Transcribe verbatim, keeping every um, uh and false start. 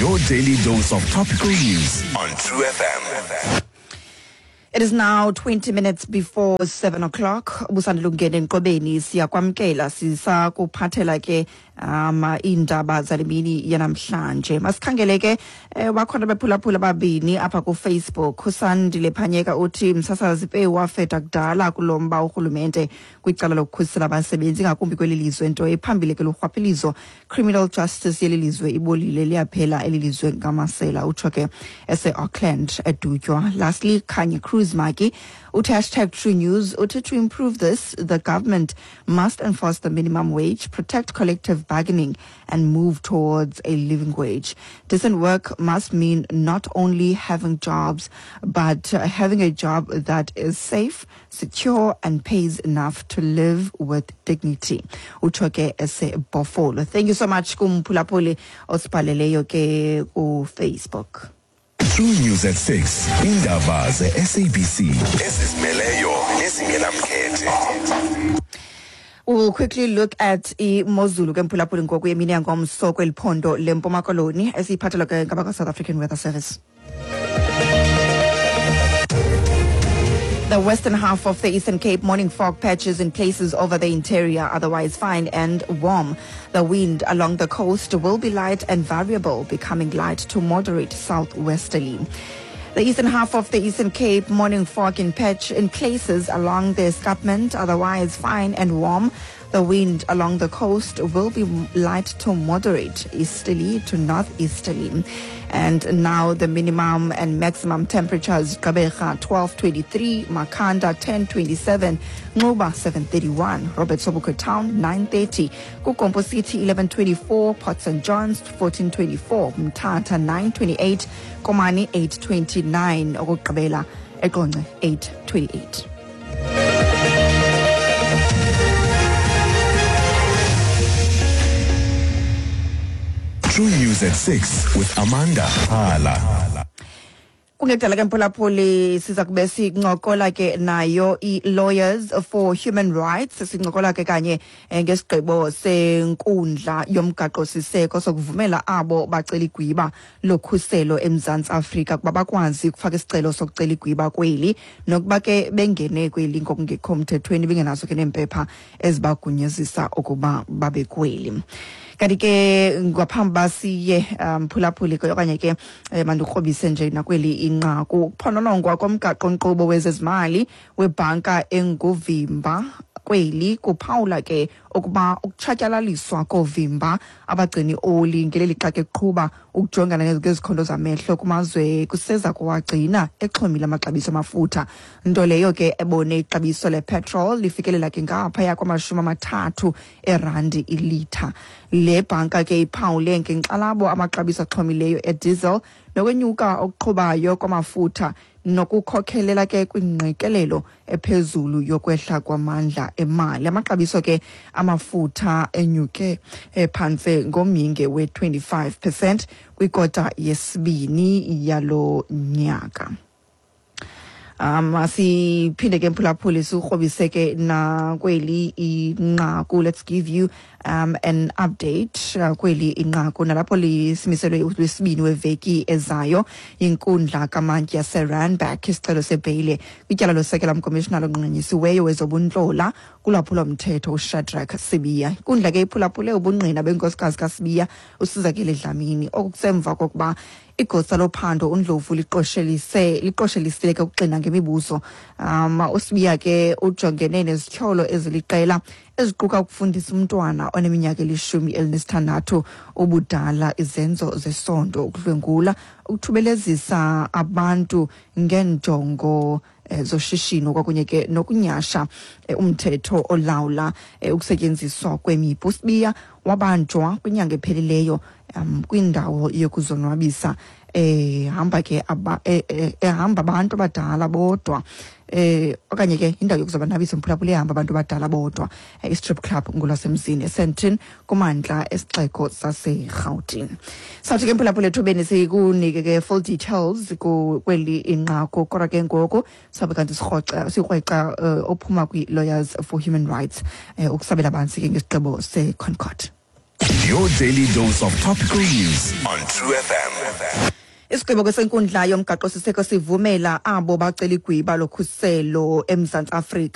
Your daily dose of topical news on True F M. It is now twenty minutes before seven o'clock. Busandulungene Nkobeni siyakwamkela sisakuphathela ke um iindaba zale mini yanamhlanje. Masikhangele ke eh, bakhona bephulaphula ababini apha ku Facebook. Usandile Phanyeka uthi msasazi pe wafeta kudala kulomba urhulumente kwicala lokukhusela abasebenzi ngakumbi kweli lizwe, nto ephambili ke lurhwaphilizo. Criminal justice yeli lizwe ibolile, liyaphela eli lizwe ngamasela, utsho ke ese Auckland eDutywa. Lastly, Kanye Cruz Maki uthi hashtag True News uthi to improve this, the government must enforce the minimum wage, protect collective bargaining and move towards a living wage. Decent work must mean not only having jobs, but uh, having a job that is safe, secure and pays enough to live with dignity. Utsho ke ese Bofolo. Thank you so much kumphulaphuli osibhaleleyo ke ku Facebook. True News at six. Indaba ze S A B C. Ezizimeleyo nezingenamkhethe. We will quickly look at imozulu ke mphulaphuli ngoku yemini yangomso kweli phondo leMpuma Koloni esiyiphathelwa ke ngabakwa South African Weather Service. The western half of the Eastern Cape, morning fog patches in places over the interior, otherwise fine and warm. The wind along the coast will be light and variable, becoming light to moderate southwesterly. The eastern half of the Eastern Cape, morning fog in patch in places along the escarpment, otherwise fine and warm. The wind along the coast will be light to moderate, easterly to northeasterly. And now the minimum and maximum temperatures: Gqeberha twelve twenty-three, Makhanda ten twenty-seven, Nxuba seven thirty-one, Robert Sobukwe Town nine thirty, KuGompo City eleven twenty-four, Port Saint John's fourteen twenty-four, Mthatha nine twenty-eight, Komani eight twenty-nine, okokugqibela eQonce eight twenty-eight. True News at six with Amanda Hala. Kungekudala ke mphulaphuli siza kube sincokola ke nayo i-Lawyers for Human Rights, sincokola ke kanye ngesigqibo senkundla yomgaqo-siseko sokuvumela abo bacela igwiba lokhuselo eMzantsi Afrika kuba bakwazi ukufaka isicelo sokucela igwiba kweli, nokuba ke bengene kweli ngokungekho mthethweni bengenazo ke neempepha ezibagunyazisa ukuba babe kweli. Kanti ke ngaphambi basiye mphulaphuli ke okanye ke mandikrobise nje nakweli inqaku, ukuphononongwa komgaqo-nkqubo wezezimali webhanka enguvimba kweli kuphawula ke ukuba ukutshatyalaliswa koovimba abagcini oli ngeli lixa ke kuqhuba ukujongana ngezikhondo zamehlo kumazwe kuseza kuwagcina exhomile amaxabiso amafutha, nto leyo ke ebone ixabiso lepetrol lifikelela ke ngaphaya kwamashumi amathathu erandi ilitha. Le bhanka ke iphawule ngenkxalabo amaxabiso axhomileyo ediesel nokwenyuka okuqhubayo kwamafutha nokukhokhelela ke kwingqikelelo ephezulu yokwehla kwamandla emali. Amaxabiso ke amafutha enyuke phantse ngomyinge we-twenty-five percent kwikota yesibini yalo nyaka. Um siphinde ke mphulaphuli sikrobise ke nakweli inqaku. Let's give you um an update uh, kweli inqaku nalapho lisimiselwe lwesibini weveki ezayo inkundla kamantyi yaseRandburg isicelo sebheyile kwityala losekela mkomishinala onqanyisiweyo wezobuntlola kulwaphulo-mthetho uShadrack Sibiya. Inkundla ke iphulaphule ubungqina benkosikazi kaSibiya uSizakele Dlamini, okusemva kokuba igosa lophando uNdlovu liqoshelise liqoshelisile ke ukuxina ngemibuzo. Um uSibiya ke ujongene nezityholo eziliqela eziquka ukufundisa umntwana oneminyaka elishumi elinesithandathu ubudala izenzo zesondo, ukudlwengula, ukuthubelezisa abantu ngeenjongo zoshishino kwakunye ke nokunyasha umthetho olawula ukusetyenziswa kwemipu. USibiya wabanjwa kwinyanga ephelileyo um kwindawo yokuzonwabisa ehamba ke ehamba abantu abadala bodwa eh okanye ke indawo yokuzonwabisa mphulaphula ehamba abantu abadala bodwa, i-strip club ngolwasemzini eSandton kumandla esixeko saseRhawutini. Sathi ke mphulaphula ethubeni sikunike ke full details kweli inqaku, kodwa ke ngoku sabe kanti sirhoxa sikrweca ophuma kwi-Lawyers for Human Rights ukusabela bansi ke ngesigqibo seConcord. Your daily dose of topical news on True F M. Isigqibo kwesenkundla yomgaqo-siseko sivumela abo bacela igwiba lokhuselo eMzantsi Afrika.